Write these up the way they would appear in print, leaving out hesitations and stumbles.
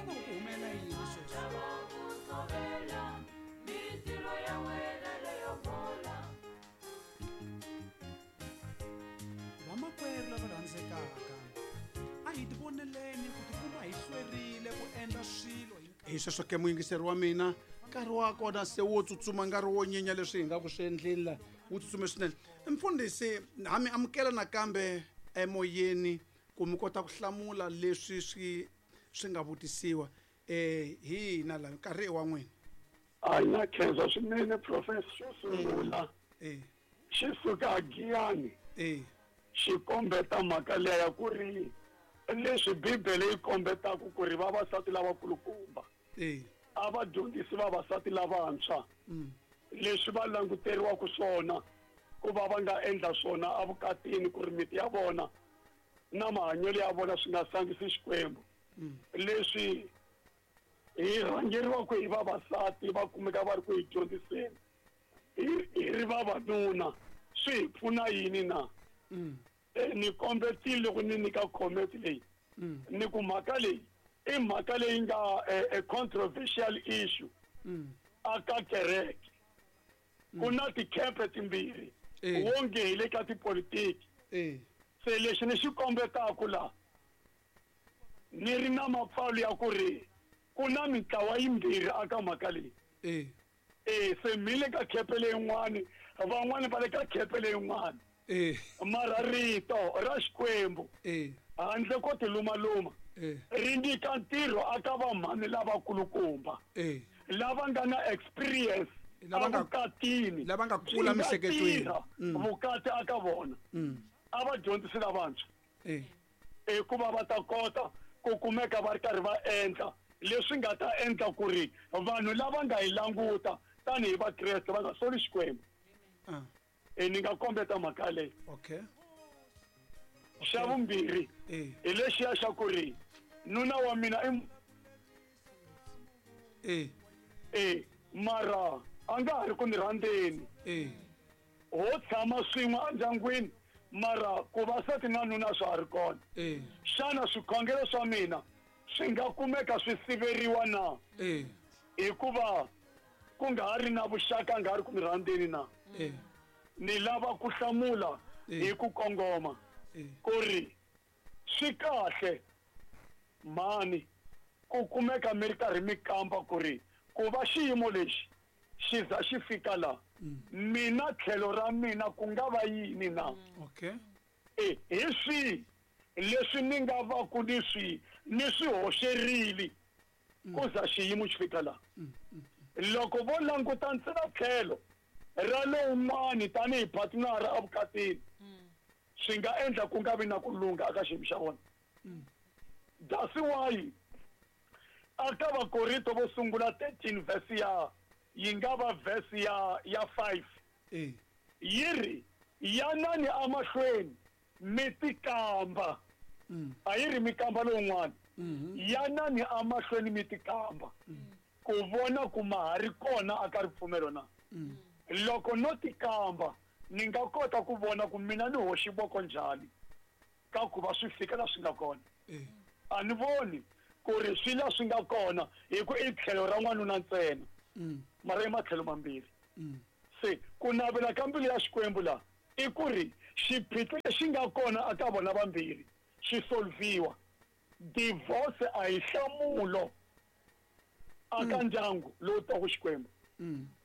vona ku ku humelela yini sweswi. Vamakwerhu lava rhandzekaka, a hi tivoneleni ku tikuma hi hlwerile ku endla swilo hi hi sweswo ke muyingiseri wa mina nkarhi wa kona se wo tsutsuma nkarhi wo nyenya leswi hi nga ku swi endleni la wu tsutsume swinene. Mfundhisi, ha mi amukela nakambe emoyeni ku mi kota ku hlamula leswi swi swi nga vutisiwa eh hi hina la nkarhi i wa n'wina. A na khensa swinene professor. Xo sungula xi suka Giyani xi kombeta mhaka liya ya ku ri leswi Bibele yi kombetaka ku ri vavasati lavakulukumba a va dyondzisi vavasati lavantshwa leswi va languteriwaka swona ku va va nga endla swona evukatini ku ri miti ya vona na mahanyelo ya vona swi nga sandzisi Xikwembu. Leswi hi rhangeriwaka hi vavasati va kumeka va ri ku hi dyondziseni hi ri vavanuna swi hi pfuna yini na? Ni kombetile loko ni nyika comment leyi ni ku mhaka leyi i mhaka leyi nga a controversial issue aka kereke. Ku na tikhempe timbirhi wonge hi le ka tipolitiki. Se lexi ni xi kombetaka la ni ri na mapfalo ya ku ri ku na mintlawa yimbirhi aka mhaka leyi. Se mi le ka khepe leyin'wani, van'wani va le ka khepe leyin'wani. Mara rito ra Xikwembu handle ko tilumaluma ri nyika ntirho aka vamhani lavakulukumba lava nga na experience evukatini, lava nga kula byi nga miehleketweni. tirha vukati aka vona. A va dyondzisi lavantshwa hikuva va ta kota ku kumeka va ri karhi va endla leswi nga ta endla ku ri vanhu lava nga hi languta tanihi Vakreste va nga soli Xikwembu. Ni nga kombeta mhaka leyi. Xa vumbirhi hi lexiya xa ku ri nuna wa mina i mara a nga ha ri ku ni rhandzeni. Ho tshama swin'we endyangwini mara ku va sati na nuna swa ha ri kona. Xana swikhongelo swa mina swi nga kumeka swi siveriwa na? Hikuva ku nga ha ri na vuxaka, nga ha ri ku mi rhandzeni na? Ni lava ku hlamula hi ku kongoma ku ri swi kahle mhani ku kumeka mi ri karhi mi kamba ku ri ku va xiyimo lexi xi za xi fika la mina tlhelo ra mina ku nga va yini na? Hi swihi leswi ni nga va ku ni swi ni swi hoxerile ku za xiyimo xi fika la? Loko vo languta ntsena tlhelo ra lowun'wani tanihi partner evukatini, swi nga endla ku nga vi na ku lungha eka xiyimo xa vona. That's why aka Vakorinto vo sungula 13 verse ya yi nga va verse ya 5 yi ri yanani emahlweni mi tikamba. A yi ri mi kamba lowun'wana. Yanani emahlweni mi tikamba ku vona ku ma ha ri kona aka ripfumelo na. Loko no tikamba ni nga kota ku vona ku mina ni hoxi voko njhani ka ku va swi fika la swi nga kona. A ni voni ku ri swi la swi nga kona hi ku i tlhelo ra n'wanuna ntsena, mara i matlhelo mambirhi. Se ku navela ka mbilu ya Xikwembu la i ku ri xiphiqo lexi nga kona aka vona vambirhi xi solviwa. Divorce a hi nhlamulo aka ndyangu lowu twaka Xikwembu,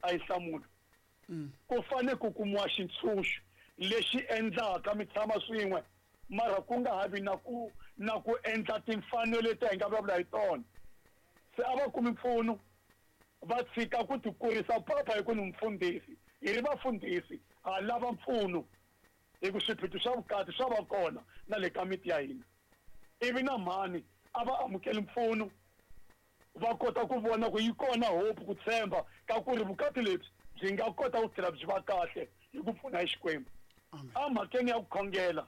a hi nhlamulo. Ku fane ku kumiwa xintshunxo lexi endlaka mi tshama swin'we, mara ku nga ha vi na ku na ku endla timfanelo leti hi nga vulavula hi tona. Se a va kumi mpfuno, va tshika ku tikurisa papa hi ku ni mufundhisi. Hi ri vafundhisi ha lava mpfuno hi ku swiphiqo swa vukati swa va kona na le ka miti ya hina. Ivi na mhani a va amukeli mpfuno, va kota ku vona ku yi kona hope, ku tshemba ka ku ri vukati lebyi byi nga kota ku tlhela byi va kahle hi ku pfuna hi Xikwembu. Emhakeni ya ku khongela,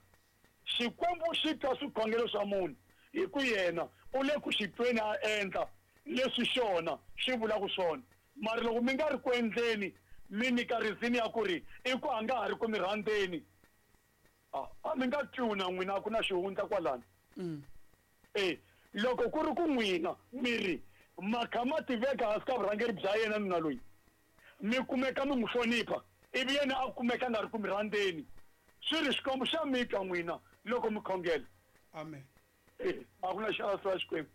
Xikwembu xi twa swikhongelo swa munhu hi ku yena u le ku xi tweni a endla leswi xona xi vulaka swona. Mara loko mi nga ri ku endleni, mi nyika reason ya ku ri i ku a nga ha ri ku mi rhandzeni, a mi nga twiwi na n'wina, a ku na xihundla kwalano. Loko ku ri ku n'wina mi ri ma kha ma tiveka hansi ka vurhangeri bya yena nuna loyi, mi kumeka mi n'wi hlonipha, ivi yena a kumeka a nga ri ku mi rhandzeni, swi ri Xikwembu xa mi twa n'wina loko mi khongela. Amen. A ku na xaso ya Xikwembu.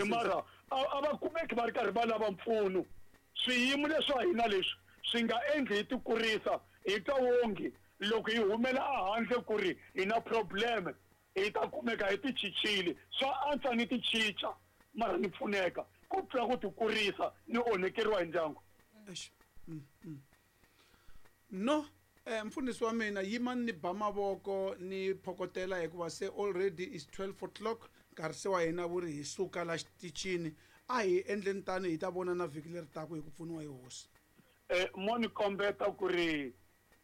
Mara a va kumeki va ri karhi va lava mpfuno. Swiyimo leswa hina leswi swi nga endli hi tikurisa, hi twa wonge loko hi humela ehandle ku ri hi na problem, hi ta kumeka hi tichichile. Swa antswa ni tichicha mara ni pfuneka ku tlula ku tikurisa ni onhekeriwa hi ndyangu. No, mfundhisi wa mina, yimani ni ba mavoko ni phokotela hikuva se already is 12 o'clock, nkarhi se wa hina wu ri hi suka la xitichini. A hi endleni tani hi ta vona na vhiki leri taka hi ku pfuniwa hi hosi. Mo ni kombeta ku ri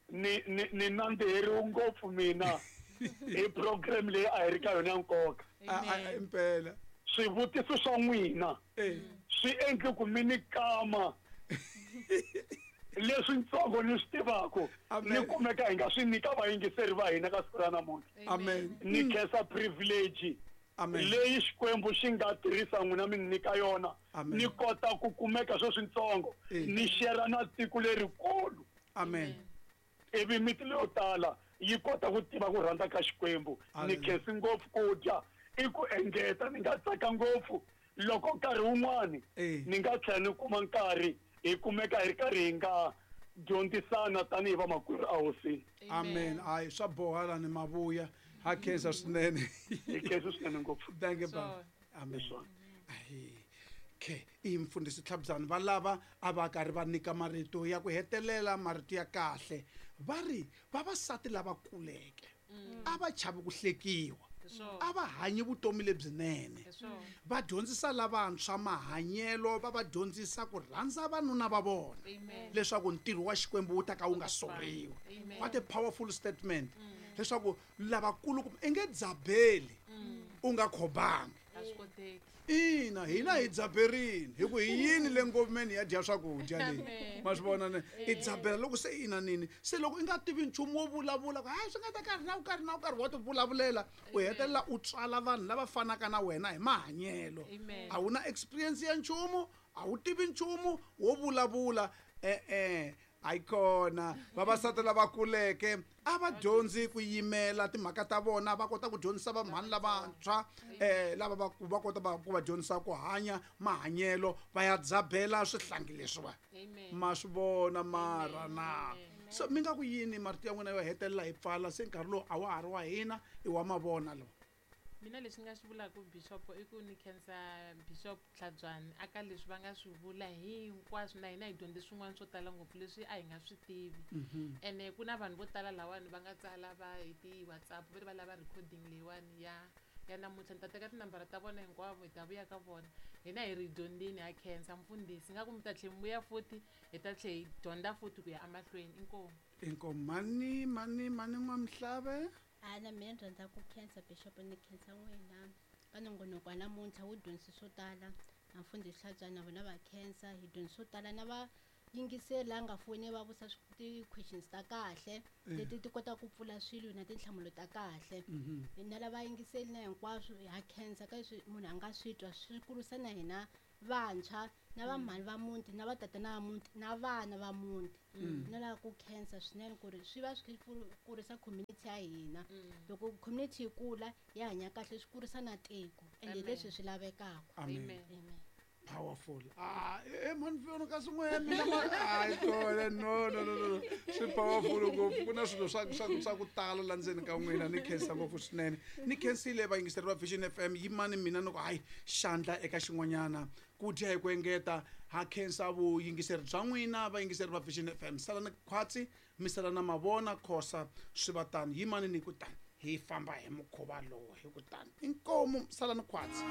ni nandziheriwe ngopfu mina hi program leyi a hi ri ka yona ya nkoka. Impela. Swivutiso swa n'wina swi endle ku mi ni kama leswi ntsongo ni swi tivaka ni kumeka hi nga swi nyika vayingiseri va hina ka siku ra namuntlha. Amen. Ni khensa privilege leyi Xikwembu xi nga tirhisa n'wina mi nyika yona. Ni kota ku kumeka sweswi ntsongo ni share na tiko lerikulu. Amen. Ivi miti leyo tala yi kota ku tiva ku rhandza ka Xikwembu. Ni khensi ngopfu ku dya i ku engeta, ni nga tsaka ngopfu loko nkarhi wun'wani ni nga tlhela ni kuma nkarhi hi kumeka hi ri karhi hi nga dyondzisana tanihi vamakwerhu a hosini. Amen. Hayi, swa boha la ni mavuya. Ha khensa swinene. Hi khensa swinene ngopfu. Thank you, baba. Amen. Okay, i mfundhisi Tlhabyani va lava a va karhi va nyika marito ya ku hetelela, marito ya kahle. Va ri vavasati lava kuleke a va chavi ku hlekiwa, a va hanyi vutomi lebyinene, va dyondzisa lavantshwa mahanyelo, va va dyondzisa ku rhandza vanuna va vona leswaku ntirho wa Xikwembu wu ta ka wu nga soriwi. What a powerful statement. Leswaku lavakulu i nge dzabeli u nga khobangi. Ina, hina hi dzaberini hi ku hi yini le ngomeni ya dya swakudya leyi. Ma swi vona ne? I dzabela loko se ina nini. Se loko i nga tivi nchumu wo vulavula ku hayi swi nga ta karhi na karhi na karhi wa ti vulavulela, u hetelela u tswala vanhu lava fanaka na wena hi mahanyelo. A wu na experience ya nchumu, a wu tivi nchumu wo vulavula. Ayikona vavasati lava kuleke a va dyondzi ku yimela timhaka ta vona, va kota ku dyondzisa vamhani lavantshwa lava va kota ku va dyondzisa ku hanya mahanyelo, va ya dzabela swihlangi leswiwa. Ma swi vona mara na. So mi nga ku yini marito ya n'wina yo hetelela hi pfala se nkarhi lowu a wa ha ri wa hina i wa mavona lowu? Mina leswi nga swi vulaka Bishop i ku ni khensa Bishop Tlhabyani aka leswi va nga swi vula hinkwaswo, na hina hi dyondze swin'wana swo tala ngopfu leswi a hi nga swi tivi. Ene ku na vanhu vo tala lawani va nga tsala va hi ti-WhatsApp va ri va lava recording leyiwani ya namuntlha. Ni ta teka tinambara ta vona hinkwavo hi ta vuya ka vona. Hina hi ri dyondzini, ha khensa mfundhisi, nga ku mi ta tlhe mi vuya futhi hi ta tlhe hi dyondza futhi ku ya emahlweni. Inkomu. Inkomu. Mani, mani, mani N'wamhlave. Ana mina ni rhandza ku khensa Bishop, ni khensa n'wina ka nongonoko wa namuntlha wu dyondzise swo tala. Na mfundhisi Tlhabyani na vona va khensa, hi dyondzise swo tala na va yingiseli la nga foni va vusa ti-questions ta kahle leti ti kotaka ku pfula swilo na tinhlamulo ta kahle. Na lava yingiseli na hinkwaswo ha khensa ka leswi munhu a nga swi twa, swi kurisa na hina vantshwa na vamhani va muti na vatatana va muti na vana va muti. Na lava ku khensa swinene ku ri swi va swi kurisa community ya hina. Loko community yi kula ya hanya kahle, swi kurisa na tiko, ende leswi swi lavekaka. Amen. Amen. Powerful. Man, fiona kasi n'we mina ma, ai, kona, no, no, no, no. Swi powerful ngopfu. Ku na swilo swa ku tala la ndzeni ka n'wina. Ni khensa ngopfu swinene. Ni khensile vayingiseri va Vision FM. Yimani mina ni ku hayi xandla eka xin'wanyana. Ku dya hi ku engeta. Ha khensa vuyingiseri bya n'wina vayingiseri va Vision FM. Sala ni khwatsi, mi sala na mavona khosa swi va tano. Yimani ni ku tani hi famba hi mukhuva lowu hi ku tani. Inkomu, sala ni khwatsi.